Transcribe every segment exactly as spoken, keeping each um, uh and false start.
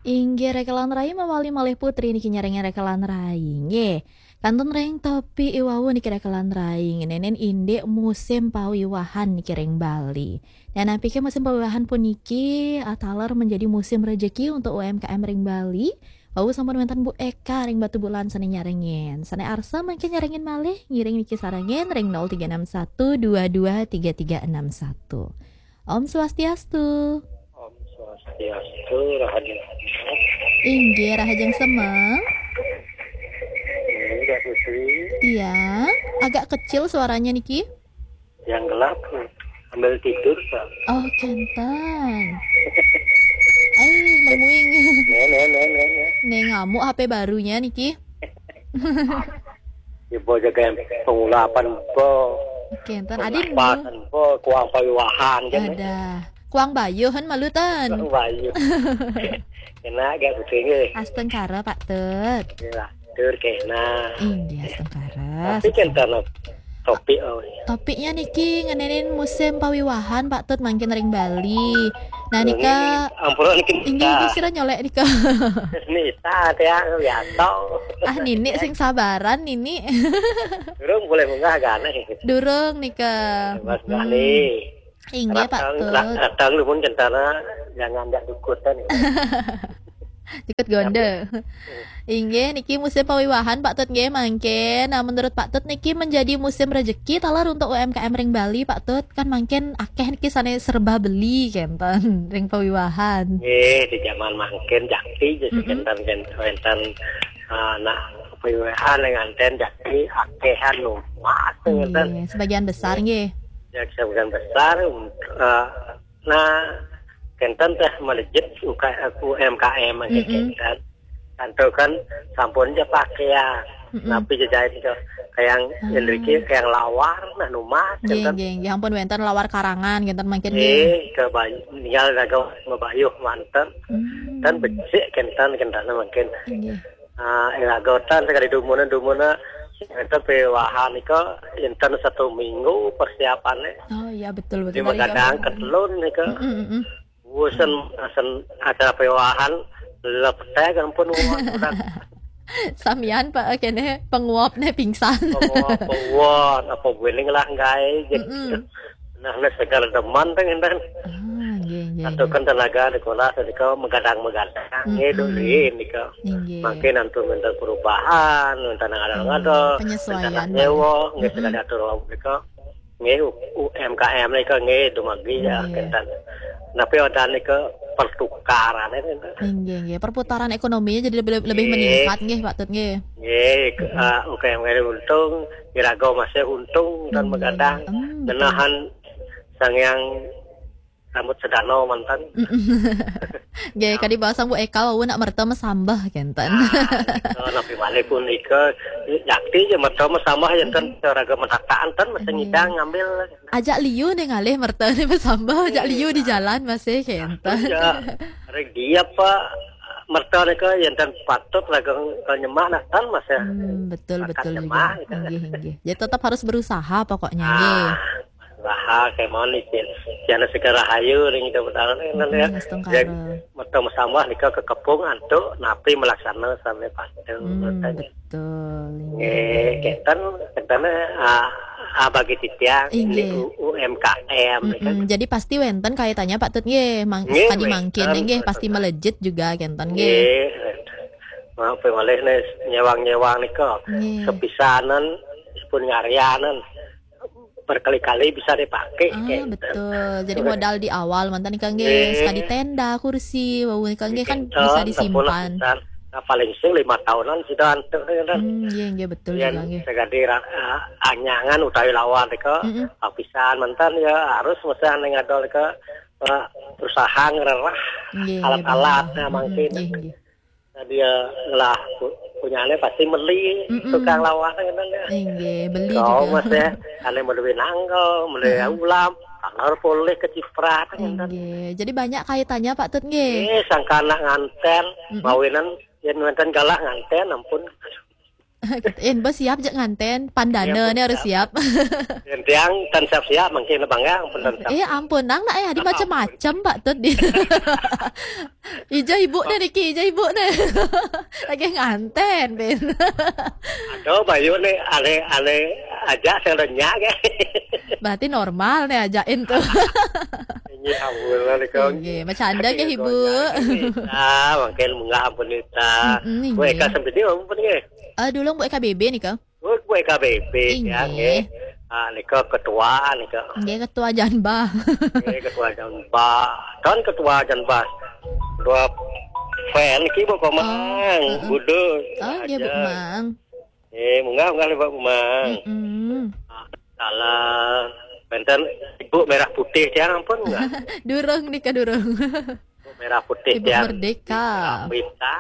Inggih, rekelan rai mawali malih Putri niki nyarengin rekelan rai. Nggih. Kantun ring topik i wau niki rekelan rai, ngeninin indik musim pawiwahan niki ring Bali. Nah, napi ké musim pawiwahan puniki, ah, taler menjadi musim rejeki untuk U M K M ring Bali? Wau sampun wénten Bu Eka ring Batubulan sané nyarengin. Sané arsa mangkin nyarengin malih, ngiring niki sarengin ring nol tiga enam satu dua dua tiga tiga enam satu. Om Swastiastu. Om Swastiastu, Rahayu. Inggih, rahajeng semeng. Ini Kak Putri. Iya, agak kecil suaranya niki. Yang gelap, sambil tidur, Kak. Oh, kenten. Ai, memuing. Nih, nih, nih, nih, nih. Nih, ngamuk H P barunya niki. Ya, bo jaga yang pengulapan, bo. Kenten, adin, bo. Pengulapan, bo, kuang pawiwahan, kan, ya? Ada. Kuang bayuh, kan, malu, ten? Kuang bayuh. Kena agak pusing, eh. Astungkara, Pak Tut. Yalah, tur kena. Inggih, astungkara. Tapi kan karena topik, oh, iya. Topiknya niki ngeninin musim pawiwahan, Pak Tut, mangkin ring Bali. Nah, ini nika, ampura niki, inggih, Nita. Niki sira nyolek nika. Nita, ya, biasa. Ah, Nini sing sabaran, Nini. Durung boleh munggah, gane. Durung nika. Mas, mm-mm. Gali. Inggih, Pak Tut. Ratang, ra-, ratang lumun kentana, jangan jak dukutan. Dikut gonde. Inggih, niki musim pawiwahan, Pak Tut, nggih, mangkin. Nah, menurut Pak Tut niki menjadi musim rejeki taler untuk U M K M ring Bali, Pak Tut? Kan mangkin akeh niki sané serba beli, kenten, ring pawiwahan. Nggih, di zaman mangkin jakti, jadi, mm-mm, kenten, kenten, wénten, ah, nah, pawiwahan ring anten jakti akehan lumat, kenten. Nggih, sebagian besar, nggih. Ya, sebagian besar, eh, nah, kenten teh melejit U K, U M K M, mm-mm, kenten. Kanto kan sampun ja pakaian. Mm-mm. Napi jejait itu, kayang, ah, indriki, kayang lawar, nah, numat, nggih, kenten. Nggih, nggih. Ampun wénten lawar karangan, kenten mangkin, nggih. Nggih, ke bay-, tinggal raga mabayuh manten. Hmm. Ten becik kenten, kenten mangkin. Nggih. Ah, iraga ten sakadi dumuna-dumuna, enten pawiwahan nika, enten satu minggu persiapannya. Oh, iya, betul, betul. Di tadi magadang kan ketelun nika. Mm-mm, mm-mm. Bosen, bosen acara pawiwahan, leptek ampun, uwon, udah. Samian, Pak, kéné panguapné pingsan. Panguap, panguap, apa buening lah, nggih, gitu. Mm-mm. Nah, nah, segala demen teh ngenten. Ah, nggih, nggih, nggih. Satukan tenaga di sekolah, tadi kau magadang-magadang, mm-mm, ngiduh nika. Inggih. Mangkin antu minta perubahan, minta ngadal-ngadal, hmm, penyesuaian, minta nyewa, nggih, mm-mm, segala atur lauk nika. Nggih, U-, U M K M nika nggih, dumagi ya, nggih, kenten. Tapi ada nika pertukaran itu. Inggih, nggih. Perputaran ekonominya jadi lebih, lebih, nggih, meningkat, nggih, Pak Tut, nggih. Nggih, ke-, mm-mm, ah, U K M untung, iraga masih untung dan, nggih, magadang. Hmm, betul. Ngenahan Sang Hyang Rambut Sedana manten. Mm-mm. Nggih, ya, kadi bahasa Bu Eka, wau nak merta masambah, kenten. Nah, nika napi malih punika, jakti ja merta masambah, ya, ten, raga matakaan, ten, masih, nggih, ngidang ngambil. Ajak liu nih ngalih merta nih masambah, ajak, iya, liu di jalan masih, kenten. Ya, rek dia apa, merta nika, ya, ten patut raga nyemah, nah, ten masih. Hmm, betul, bakat betul nyemah, juga. Gitu. Nggih, nggih. Jadi tetap harus berusaha pokoknya, ah, nggih. Usaha kemawon niki. Jana segara rahayu ring Ida Betara. Mm-mm, ya, astungkara. Yang merta masambah nika kakepung antuk napi malaksana sami patuh. Hmm, betul. Nggih, nggih. Kenten, kenten, ah, ah, bagi titiang, inggih, di U-, U M K M, mm-mm, nika. Jadi pasti wénten kaitannya, Pak Tut, nggih, mang-, nggih, kadi mangkin, wénten, nggih, pasti, wénten, melejit juga, kenten, nggih. Nggih, wénten. Maaf, malih nih, nyéwang-nyéwang nika. Nggih. Sepisanan, pun ngaryanan. Berkali-kali bisa dipakai, ah, gitu. Betul. Jadi modal di awal manten nika nggih, nggih, sekadi tenda, kursi, wau nika nggih kan, nggih, bisa disimpan. Nah, paling sing lima tahunan sudah antuk, ya kan? Hmm, nggih, nggih, betul. Yang juga nggih. Segadi ra-, ah, anyangan utawi lawar nika, mm-mm, lapisan manten ya harus mesti ning adol nika, eh, berusaha ngererah, nggih, nggih, alat-alatnya betul. Mm-mm, mangkin. Nggih, nggih. Nah, dia lah pu-, punyane pasti meli, mm-mm, tukang lawan kan ya. Inggih, beli kau juga. Mas ya, ane meli nanggo, meli, mm-mm, ulam, taler poleh kecipratan kan. Inggih, jadi banyak kaitannya Pak Tut nggih. Eh, sangkana nganten, mm-mm, mawinan yen wenten galah nganten ampun. Gitu. Eh, bos siap jak nganten. Pandana ni harus siap. Yang tiang tan siap-siap mungkin abang ya, ampun tan siap. Eh, ampun, nang nak eh, ada macam-macam, Pak Tut. Ija ibu ni, Niki, ija ibu ni. Lagi nganten, Ben. Aduh, Bayu ni aneh-aneh aja saya lenyap ke. Berarti normal ni ajain tu. Ini ampun lah ni kau. Nggih, macam ada ke ibu? Ah, mungkin munggah ampun nita. Mm-mm, Buat nggih. Eka sampai dia ampun ke. Ah, dulu buat K B B ni ke? Buat Eka B B ya Inggih. Nggih. Ah, ni ke ketua ni ke. Nggih, ketua Janba. Nggih, ketua Janba. Kan ketua Janba. Dua fan ki buat komang. Oh, heeh. Budut. Oh, nggih, Bu Mang. Eh, munggah munggah ni buat komang. Mm-mm. Salah. Benten ibu merah putih tiang ampun enggak? Durung ni ke durung. Ibu merah putih Ibu tiang. Merdeka. Merdeka.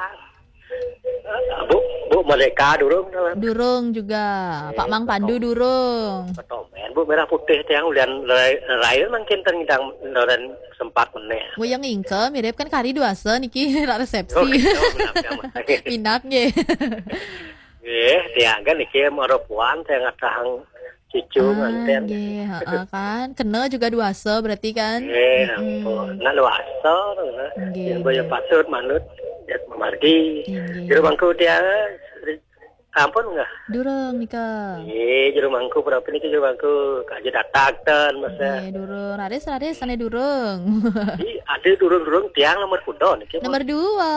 Bu, Bu Merdeka durung tu. Durung juga. Pak Mang Pandu durung. Petomen Bu merah putih tiang ulian rai rai mungkin tengidang loren sempat meneh. Wayang ingke mirip kan kari duasa niki rak resepsi. Oh, gitu, benar, benar. Minat nggih. Eh, tiang kan niki mara puan tiang ngatahang cucu Ah, nganten. Nggih, heeh kan. Kena juga duasa berarti kan? Eh, Mm-mm. ampun. Nak luasa tu. Nggih, Yang boleh nggih. patut manut ya memargi. Nggih. Juru mangku tiang ampun enggak? Durung nika. Eh, juru mangku berapa ni juru mangku? Kaji datang ten masa. Nggih, durung. Raris, raris, sana durung. Di ada durung-durung tiang nomor kuda ni. Nomor dua.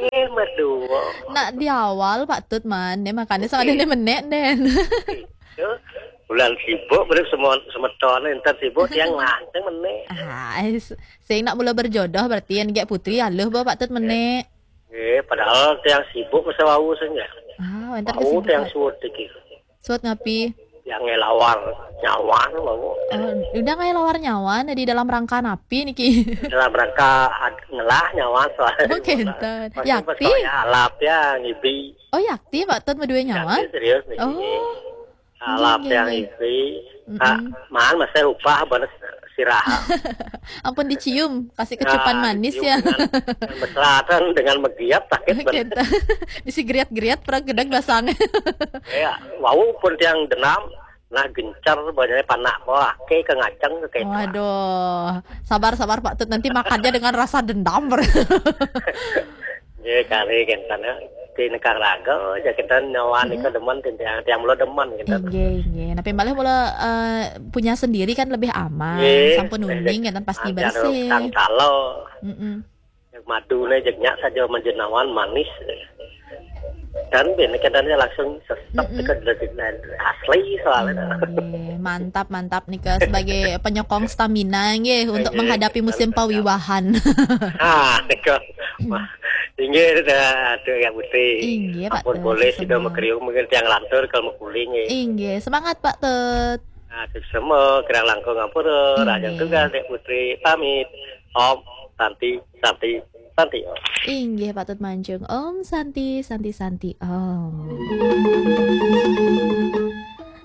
Eh, nomor dua. Nak di awal Pak Tut man, ni makanya sama ada ni menek den. Ya, bulan sibuk boleh semua semeton entar sibuk tiang lanceng meneh. Ah, s- sing nak mula berjodoh berarti yang gek putri aluh bah Pak Tut menek. Eh, padahal tiang sibuk masa wau saja. Ah, entar Wau tiang kesibukan. suut dikit. Suat ngapi? Tiang ngelawar nyawan wau. Oh, udah ngai lawar nyawan di dalam rangka napi niki. Dalam rangka ad- ngelah nyawan soalnya. Oh, kenten. Masih Yakti? Percaya alap ya ngibi. Oh, yakti Pak Tut medua nyawan? Yakti serius nih. Oh. Alap Nggih, yang nggih. ibi. Mm-mm. Ah, man masa upah balas sirah. Ampun dicium, kasih kecupan Nah, manis dicium ya. Dengan, dengan mesra kan, dengan megiat sakit bener. Kenten. Disi geriat-geriat perang gedeg basang. Ya, wau pun tiang denam, nah gencar banyak panak bawah, ke ke ngaceng ke kayak Waduh, sabar-sabar Pak Tut, nanti makannya dengan rasa dendam. Ya, kali kan sana di nekang raga aja kita nyawa ni ke demen tiang tiang mula demen kita. Inggih, inggih. Tapi malah mula eh, punya sendiri kan lebih aman. Nggih. Sampun uning kan pasti Ada bersih. Kang Salo. Mm-mm. Yang madu ni jegnya saja menjenawan manis. Dan bini kadangnya langsung sesep Mm-mm. ke dari asli soalnya. Inggih, mantap, mantap nih ke sebagai penyokong stamina nggih untuk Nggih, menghadapi musim mantap. pawiwahan. Ah, nika. Wah, inggih dah tu yang putih. Inggih, Pak Ampun Tut, boleh sama. Sudah mekriung mungkin tiang lantur kalau mekuling eh. Inggih, semangat Pak Tut. Nah, tu semua kirang langkung ampun Inggih. Raja tugas Dek Putri pamit. Om Santi Santi Santi Om. Inggih Pak Tut Mancung. Om Santi, Santi, Santi. Om.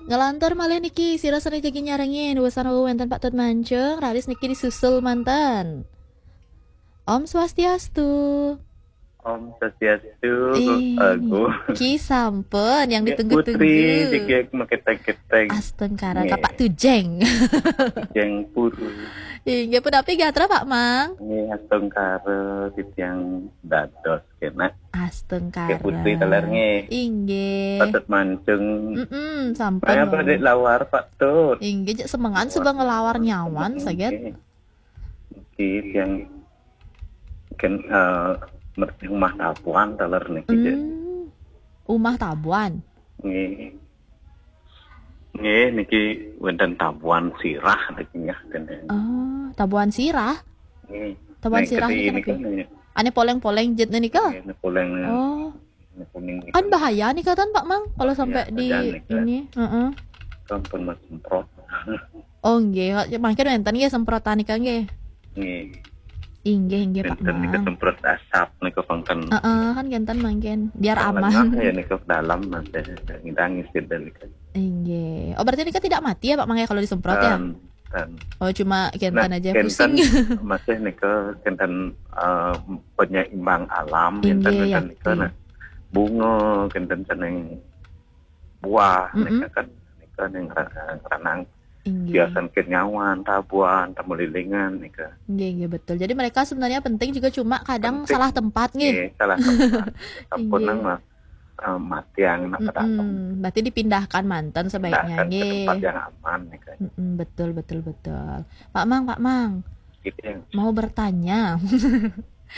Ngelantur malih niki sira sane jagi nyarengin wusana wenten Pak Tut Mancung, raris niki disusul manten. Om Swastiastu. Om Swastiastu, Ih, Agung. Ki sampun yang Nggih, ditunggu-tunggu. Putri, jegeg maketeng-keteng. Astungkara Nggih. Kapak Tujeng. Jeng puru. Inggih punapi gatra Pak Mang. Nggih, astungkara titiang dados kena. Astungkara. Nggih, Putri teler nggih. Inggih. Pak Tut Mancung. Mm-mm, sampun. Maya apa dek lawar Pak Tut? Inggih, cek semengan suba ngelawar nyawan saget. Nggih. Nggih, yang ken eh, mer- rumah tabuan teler niki. Cek. Hmm. Umah tabuan. Nggih. Nggih, niki wonten tabuan sirah niki nggih. Oh, tabuan sirah. Nggih. Tabuan Nek sirah keti niki niki napi? nggih. Ane poleng-poleng jet nika. Nggih, poleng Oh, kuning niki. Kan bahaya nika tan Pak Mang kalau sampai di bahaya nika. Ini. Heeh. Sampun mas semprot. Oh nggih, mangke wenten nggih semprotan nika nggih. Nggih. Inggih, inggih Pak Enten nika Mang. semprot asap nika pangken. Heeh, kan kenten mangken biar Lengah aman. Ya nika dalam mas ya ngidang isin dan nika. Inggih. Oh berarti nika tidak mati ya Pak Mang ya kalau disemprot ya? Ten, ten. Oh cuma kenten Nah, aja kenten pusing. Masih nika kenten eh, penyeimbang alam Inggih, kenten yakti. Kenten nika nah. bunga, kenten sané buah, Mm-mm. nika kan, nika ning ra- ranang Inggih. biasan kenyawan, tabuan, tamulilingan nika. Nggih, nggih, betul. Jadi mereka sebenarnya penting juga, cuma kadang Penting. salah tempat nggih. Nggih, salah tempat. Sampun Inggih. nang mah, eh, matiang napa datang. Mm-mm. Berarti dipindahkan manten sebaiknya Pindahkan ke nggih. Tempat yang aman nika. Mm-mm, betul, betul, betul. Pak Mang, Pak Mang, Gitu ya. Mau bertanya.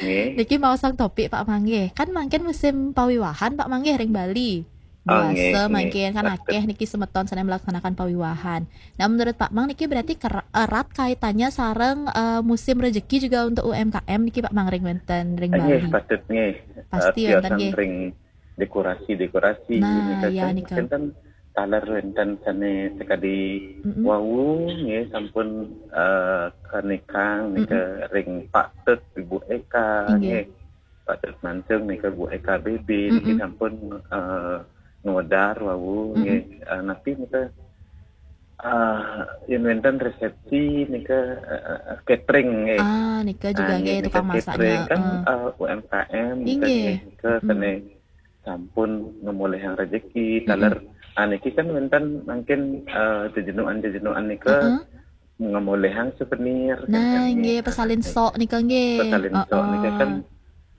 Nggih. Niki mau sang topik Pak Mang nggih. Kan mangkin musim pawiwahan Pak Mang nggih ring Bali. Oh, nggih, Dewasa nggih. Mangkin kan akeh niki semeton sané melaksanakan pawiwahan. Nah, menurut Pak Mang niki berarti ker- erat kaitannya sareng eh, musim rezeki juga untuk U M K M niki Pak Mang ring wénten ring Eh, nggih, Bali. Patut nggih. Pasti Eh, wénten biasan nggih. Ring dekorasi-dekorasi Nah, nika ya, kan, nika. Kenten taler wénten sané sekadi Mm-mm. wau nggih sampun eh, kanikang nika ring Pak Tut Ibu Eka Inggih. Nggih. Pak Tut Mancung nika Bu Eka B B niki Mm-mm. sampun eh, ngwedar wau Mm-mm. nggih. Eh, napi nika eh, yén wénten resepsi nika eh, eh, catering nggih. Ah, nika juga Ah, nggih nggih, tukang nika masaknya. catering kan Eh. eh, U M K M nika Inggih. nggih, nika Mm-mm. sané sampun ngemolehang rezeki Mm-mm. taler ah, niki kan wénten mangkin eh, jejenuan-jejenuan nika Heeh. ngemolehang souvenir kan, Nah, kan, nggih pesalin sok nika nggih. Pesalin sok nika kan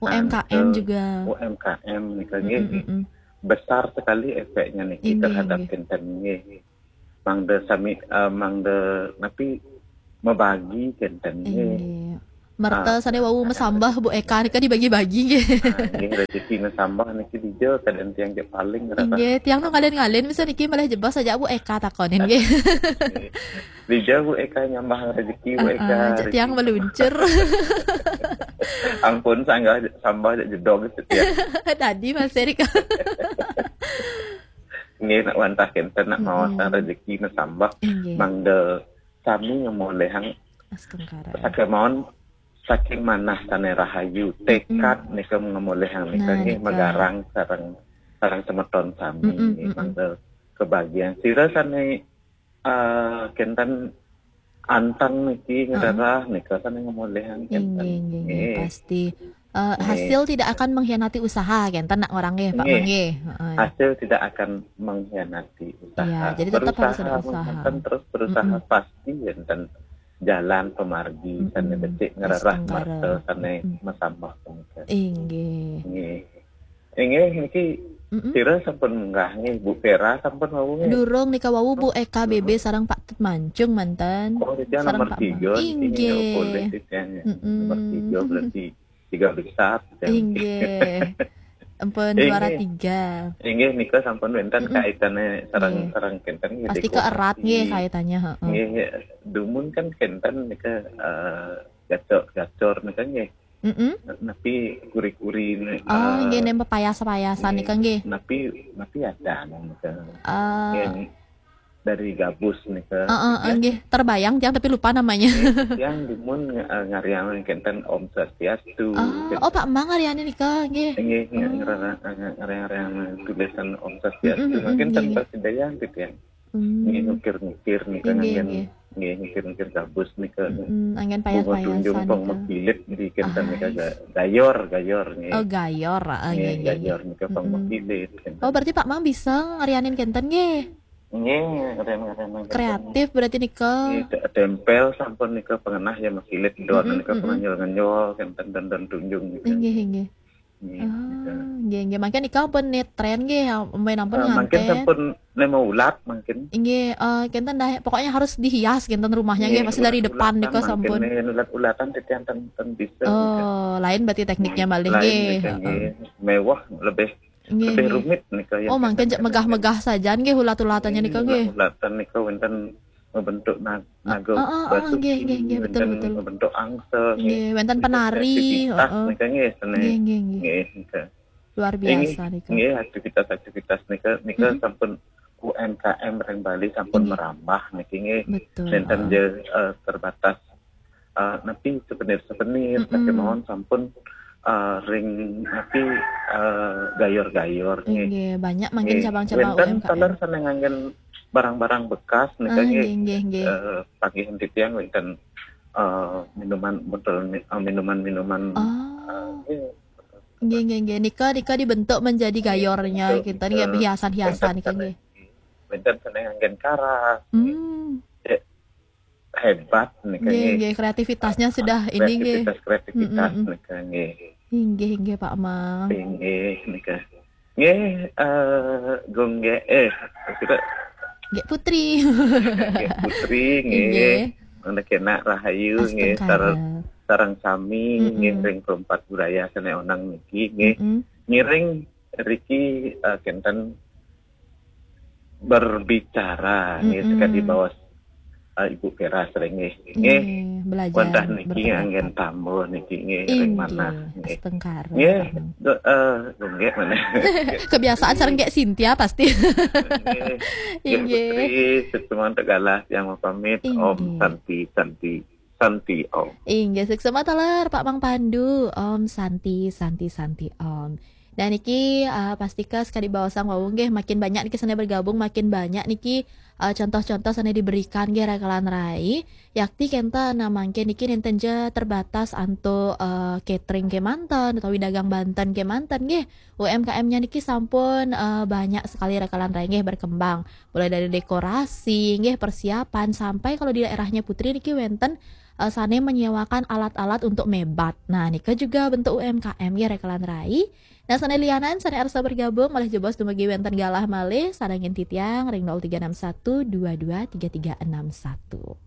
U M K M anu, juga. U M K M nika nggih. Mm-mm, mm-mm. Besar sekali efeknya niki Inggih, terhadap inggih. Kenten nggih. Mangda sami eh, mangda napi mebagi Kenten nggih. Inggih. Merta Ah, sané wau mesambah Bu Eka nika dibagi-bagi nggih. Ah, nggih rezeki mesambah niki dija kadén tiang cek paling rarah. Inggih, tiang nu ngalin-ngalin misal niki malah jebos saja Bu Eka takonin nggih. Dija Bu Eka nyambah rezeki Bu Ah, Eka. ah, cek tiang meluncur. Ampun sanggah sambah cek jedog cek tiang. Tadi Mas Erik. Nggih nak wantah Kenten nak Mm-mm. maosang rezeki mesambah Inggih. mangda sami ngemolehang Astungkara. Sakemawon saking manah sané rahayu, tekad nika ngemolehang nika Nah, nggih nika. Magarang sareng sareng semeton sami Mm-mm, nggih mm-mm. mangda kebagian. Sira sané eh, Kenten anteng niki ngererah nika sané ngemolehang Kenten. Inggih, inggih, inggih, Nggih. Pasti. Eh, Nggih. Hasil tidak akan mengkhianati usaha, Kenten nak orang nggih, Pak Nggih. Mang nggih. Heeh. Hasil tidak akan mengkhianati usaha. Iya, jadi tetap harus ada Berusaha usaha. Kenten terus berusaha Mm-mm. Pasti wénten jalan pemargi Mm-mm. sané becik ngererah Astungkara. Merta sané Mm-mm. mesambah punika. Inggih. Nggih. Inggih niki Mm-mm. sira sampun munggah nggih, Bu Vera sampun wau nggih. Durung nika wau Bu Eka B B sareng Pak Tut Mancung manten. Oh, titiang Sareng nomor Pak tiga Mang. niki Inggih. Nggih, boleh titiang. Mm-mm. Nomor tiga berarti tiga besar titiang. Inggih. Ampun Inggih. Juara tiga. Inggih nika sampun wénten Mm-mm. Kaitannya sareng Nggih. sareng Kenten nggih. Pasti ke erat nggih kaitannya, heeh. Nggih, dumun kan Kenten nika eh, gacor-gacor nika nggih. Mm-mm. Napi kuri-kuri ni, Oh, eh, nggih, nem pepayas-payasan nika nggih. Napi napi ada nika. Eh, Yang dari gabus nika. Heeh, nggih, terbayang tiang tapi lupa namanya. Yang dumun eh, ngariang Kenten Om Swastiastu. Ah, oh Pak Mang ngarianin nika nggih. Nggih, Oh. ngerana- ngariang-ngariang tulisan Om Swastiastu. Mm-mm, mm-mm, Mungkin nggih, tanpa nggih. Sedayan gitu ya. Hmm. Nggih ngukir-ngukir nika Nggih, nganggén nggih. Nggih ngukir-ngukir gabus nika. Mm, anggen Bunga tunjung payas-payasan pang nika. Mekilit di Kenten nika Ais. ga- gayor, gayor nggih. Oh, gayor, ah, Nggih, nggih, nggih, gayor nggih. nika pang Mm-mm. Mekilit. Kenten. Oh, berarti Pak Mang bisa ngarianin Kenten nggih. Nggih, keren-keren. Kreatif berarti nika. Nggih, te- tempel sampun nika pengenah ya Mekilit don Mm-mm, nika mm-mm. Penganyul-nganyul Kenten don-don tunjung nika. Inggih, inggih. Nggih, Ah, nika. nggih, nggih. Mangkin nika pun nitren nggih, main ampun Eh, mangkin nganten. Sampun nema ulat mangkin. Inggih, eh, Kenten dah pokoknya harus dihias Kenten rumahnya nggih, pasti dari depan Ulat-ulatan nika mangkin, sampun. Nggih, ulat-ulatan titiang ten, ten bisa nika. Oh, lain berarti tekniknya Nggih, malih lain nggih. nika, Heeh. Nggih. Mewah lebih Nggih, lebih nggih. Rumit nika ya. Oh, mangkin cek megah-megah saja nggih ulat-ulatannya nika nggih. Ulat-ulatan nika wénten membentuk na- naga Heeh, heeh, basuki, nggih, nggih, nggih, betul, wénten betul. Membentuk angsa, nggih. Nggih, wénten penari, Kreativitas heeh. Nika nggih, seni. Nggih, nggih, nggih. Nggih, nika. Luar biasa nika. Nggih, aktivitas-aktivitas nika nika Mm-mm. Sampun U M K M ring Bali sampun Nggih. Merambah niki nggih. Betul, Nénten heeh. Ja eh, terbatas eh, napi souvenir-souvenir Mm-mm. Sakémawon sampun eh, ring napi eh, gayor-gayor nggih. Inggih, banyak mangkin Nggih. cabang-cabang Wénten U M K M. Taler sané nganggén barang-barang bekas nika Ah, nggih. Nggih, nggih, nggih. Eh, Panggihin titiang wénten eh, minuman botol mi- eh, minuman-minuman Oh. eh, nggih. Nggih, nggih, nggih. Nika, nika dibentuk menjadi gayornya Betul, kita nih, betul. Hiasan-hiasan nika nggih. Wénten sané nganggén karas. Hmm. Hebat nika Nggih, nggih. Nggih, kreativitasnya sudah ini nggih. Kreativitas, kreativitas Mm-mm. nika nggih. Inggih, inggih Pak Mang. Inggih nika. Nggih, eh, Gung Gék, eh, kita Gék Putri. Gék Putri nggih. Inggih. Mangda kénak rahayu nggih Astungkara. Sareng sami nggih Mm-mm. Ring Perempat Budaya sané onang niki nggih. Mm-mm. Ngiring riki eh, kénten berbicara nggih Mm-mm. Sakadi baos eh, Ibu Peras ring nggih. Nggih. Nggih, belajar Wantah niki berpendapat. Nganggén tamu niki nggih ring Inggih, manah nggih. Astungkara. Nggih, do- eh, Gung Gék mana? Kebiasaan sareng Gék Cynthia pasti. Nggih. Nggih Inggih. Putri, setuman tegalah yang mau pamit. Om Inggih. Santi, Santi, Santi Om. Inggih, suksma taler Pak Mang Pandu. Om Santi, Santi, Santi Om. Dan niki eh, pastika sakadi baosang wau nggih, makin banyak niki sané bergabung, makin banyak niki eh, contoh-contoh sané diberikan nggih rakalan rai. Yakti kénten nah mangkin niki nénten ja terbatas antuk eh, catering kémanten utawi dagang banten kémanten nggih. U M K M-nya niki sampun eh, banyak sekali rakalan rai nggih berkembang. Mulai dari dekorasi nggih, persiapan, sampai kalau di daerahnya Putri niki wénten eh, sané menyewakan alat-alat untuk mébat. Nah, nika juga bentuk U M K M nggih rakalan rai. Nah, sané lianan, sané arsa bergabung, malih jebos dumugi wénten galah malih, sarengin titiang ring nol tiga enam satu dua dua tiga tiga enam satu.